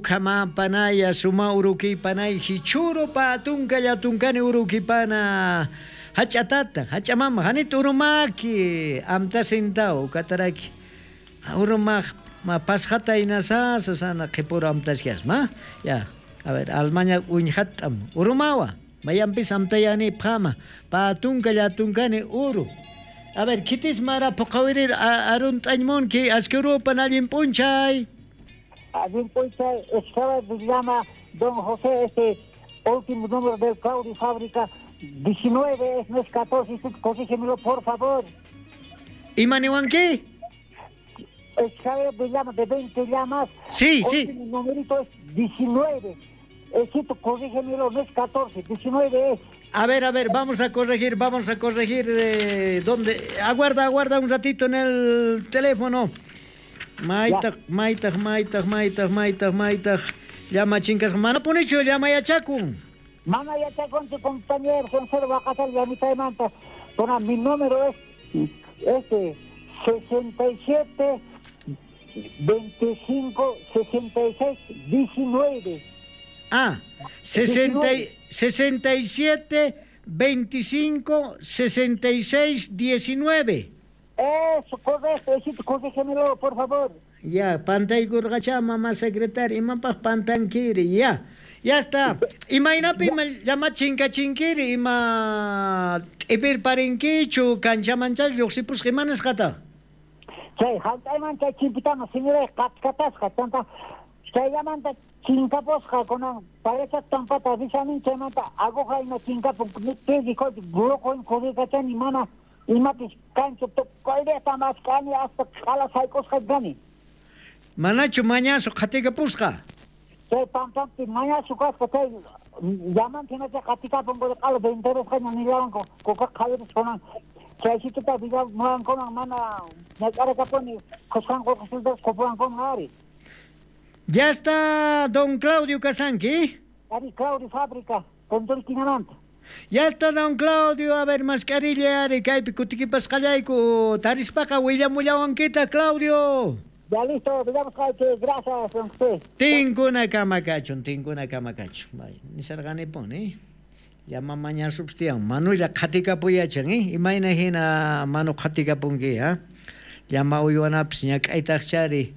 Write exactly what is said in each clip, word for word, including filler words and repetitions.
Kama panaya suma uruki panay hichuro pa tunka llatunkani uruki pana hachatata hachamama hanit urumaki amta sintao kataraki urumaq ma pasjata inasasa sana qhipuru amtashiasma ya a ver almaña uñhatam urumawa mayanpis amtayani phama pa tunka llatunkani uru. A ver kitis mara puqawirir arun t'añmunki askirupan allin p'unchay. Allin p'unchay estaba llama don José, este último número del Claudio Fábrica diecinueve es, no es catorce, corrígemelo por favor. ¿Imaniwanki? Estaba de llama de veinte llamas. Sí, sí. El numerito es diecinueve. Ecito, corrígemelo, no es catorce, diecinueve es. A ver, a ver, vamos a corregir, vamos a corregir. Eh, ¿dónde? Aguarda, aguarda un ratito en el teléfono. Maitaq, maitaq, maitaq, maitaq, maitaq, maitaq. Llama chinkas, mana punichu, llama yachakun. Mana yachakun, tu compañero, son cero vacasal, ya mitad de manta. Bueno, mi número es este, sesenta y siete, veinticinco, sesenta y seis, diecinueve. Ah, sesenta, sesenta y siete, veinticinco, sesenta y seis, diecinueve. Eso, correcto, corrígemelo, por favor. Ya, pantaykurqacha mamá secretaria, imapaq pantankiri, ya. Ya está. Imaynapi llama chinkachinkiri, ima t'ipirparinkichu, kanchamancha lluqsipusqa imanasqata. Chay, hallp'ayman chay chimpitama señora qatqatasqa, chanta chayllamanta chinkapusqa kunan parecha tampata risanin chaymanta aguja ima chinkapun, pisi gloco corrikachani mana imapis kancho tukuyleta maskani hasta qala sayk'usqa kani. Manachu mañasu qhatikapusqa? Chay pampampi mañasu kasqa chay llamanpi hinacha qatikapun qala venterusqaña nillawanku kuka qhawiris kunan chaysituta villamuwankunan mana ñak'arakapuni qusqanku qusqanku qupuwankuman ari. Ya está don Claudio Casanqui. Ari Claudio Fábrica, Condorquinamanta. Ya está don Claudio, a ver, mascarilla, ari, kaypi kutikipasqallayku, tarispaqa willamullawankita, Claudio. Ya listo, digamos que gracias, don José. Tinkuna kamakachun, tinkuna kamakachun. Vaya, nisarqanipun, eh. Llama mañasupstian, manulla qhatikapuyachan, eh. Imayna hina manu qhatikapunki, ha. Llama uywanapis ñak'aytaqchari,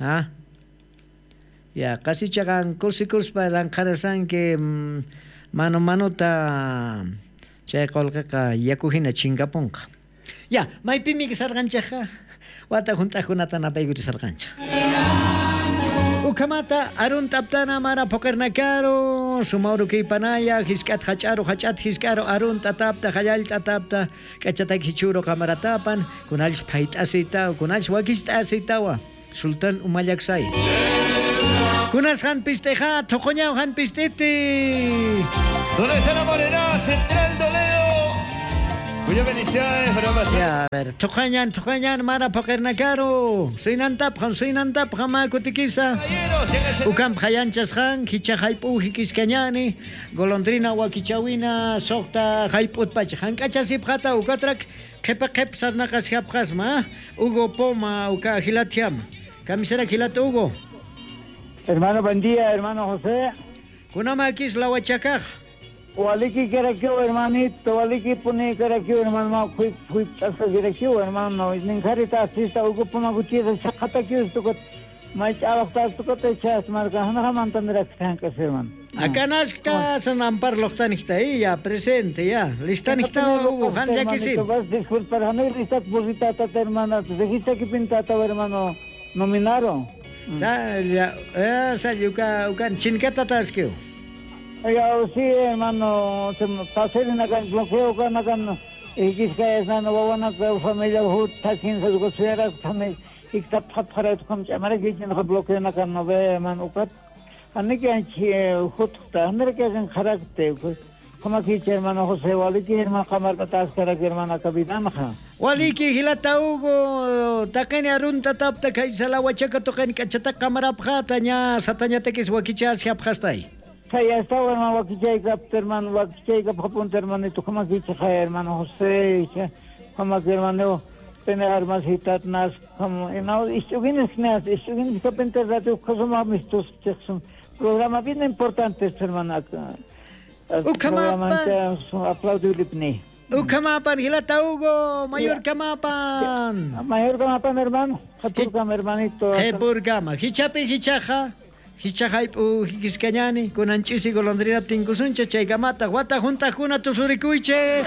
ha. Ya, qasichaqan kusikuspa lanqharasanki manu manuta chay qullqiqa yaku hina chinkapunqa. Ya, maypimi sarqanchikqa wata hunt'aqkunata napaykuti sarqanchik. Ukamata arun taptana mara puqirnakaru sumauru kaypanaya hisk'at hach'aru hach'at hisk'aru arun tatapta hallal tatapta k'achataki hichuru kamaratapan kunallis phayt'asita kunallis wakist'asitawa Sultan Umallaksay. Kunas han pisteja, tocoñao han pistete. ¿Dónde está la morena? Central Toledo. Muchas felicidades, bromas. Ya, a ver, tocañan, tocañan, mara poquernacaro. Soy nantap, soy nantap, jama kutikisa. Ukam hayanchas han, hicha haipu, hikiscañani, golondrina, wakichawina, socta, haiput pach, hankachasip jata, ukatrak, kepa kep sarnakas japjasma, Hugo Poma, uka gilatiam. Camisera gilato Hugo. Hermano, buen día, hermano José. Kunamakis la huachacaj. Waliki karakio, hermanito, waliki puni karakio, hermano, fui fui hasta karakio, hermano, ninjarita asista Hugo Poma Gutiérrez, chakata kius tukot, may chavakta tukot echas marca, hana mantandra kankas, hermano. Acá naskta san ampar loqtanijta, ya presente, ya, listanijta Hugo, han yakisi. Vas disculpar, hanay listat burritata, hermano, regista que pintata, hermano, nominaron. Sa ya, eh, sa yuka ukan chinkata taskio. Ya, sí, hermano, se pasé en acá bloqueo kan acá ikisqa hermano wawana familia hut takin sa gosera familia ikta phat pharat kom amara gichin bloqueo na kan no ve hermano ukat aniki anchi hut ta anere ke kan kharakte como aquí hermano José waliki hermano kamar tas kara hermano kabidam kha waliki hilata Hugo taqani arunta tapta kaysala wachaka toqani kachata kamara phata ña sataña tekis wakichas hapjastay. Ya estaba hermano wakichayka hermano wakichayka papunta hermanito como aquí hermano José como aquí hermano Pene armasitat nas como no istuginis nas istuginis kapente radio cosoma mistus programa bien importante hermana. Ucamapan. Aplaudirle. Ucamapan, Gilata Hugo, Mayor Camapan. Mayor Camapan, hermano. Japurgama, hermanito. Japurgama. Hichapi, hichaja. Hichajaypu, hikiscañani. Kunanchisi, golondrina, tinkusuncha, chaykamata. Wata junta, juna, tusurikuyche.